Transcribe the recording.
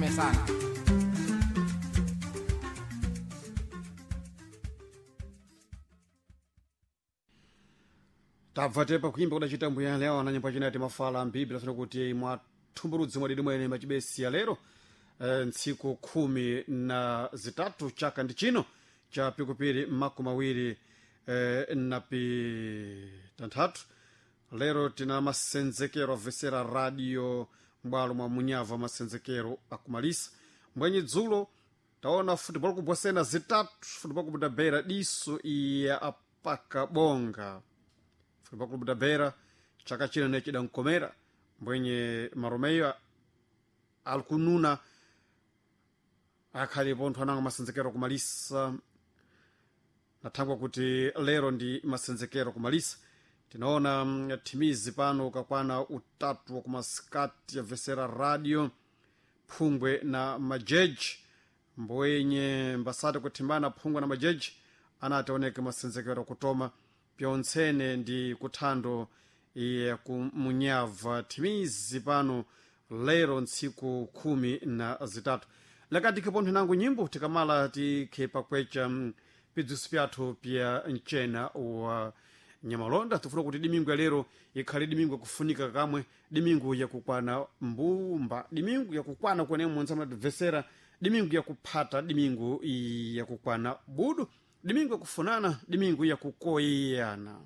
Mesana. Tabva tepa kuimba kudachita mbuya leo na nyimbo chinati mafala mbibli lasona kuti mwathumbuludzi mwadidi mwene machibesi ya lero ntsiku 13 chaka ndi chino cha pikupiri 26 na pitanthatu. Lero tina masenzekero avesera radio m'bwalo mwa munyava, masenzekero akumalisa mbwenye dzulo taona football kubwasena zitatu, football kubuda beira diso iya apaka bonga. Football club da Beira chaka chino ne chidankomera mbwenye maromeyo alikununa akhali pontho ananga masenzekero kumalisa nathangwa kuti lero ndi masenzekero kumalisa. Tinaona thimizi pano kakwana utatu wa kumasikati yabvesera radio phungwe na majeji mbwenye mbasati kuthimbana phungwe na majeji anati aoneke masenzekero kutoma pyontsene ndi kuthando ya kumunyava thimizi pano lero ntsiku 13. Lakati khipontho nangu nyimbo tikamala tikhe pakwecha pidziso pyathu pya mchena wa nyamalonda. Tifuna kuti dimingu ya lero ikhale dimingu yakufunika kamwe, dimingu yakukwana mbumba, dimingu yakukwana kwene munthu amatibvesera, dimingu yakuphata, dimingu yakukwana budu, dimingu yakufunana, dimingu yakukoyana.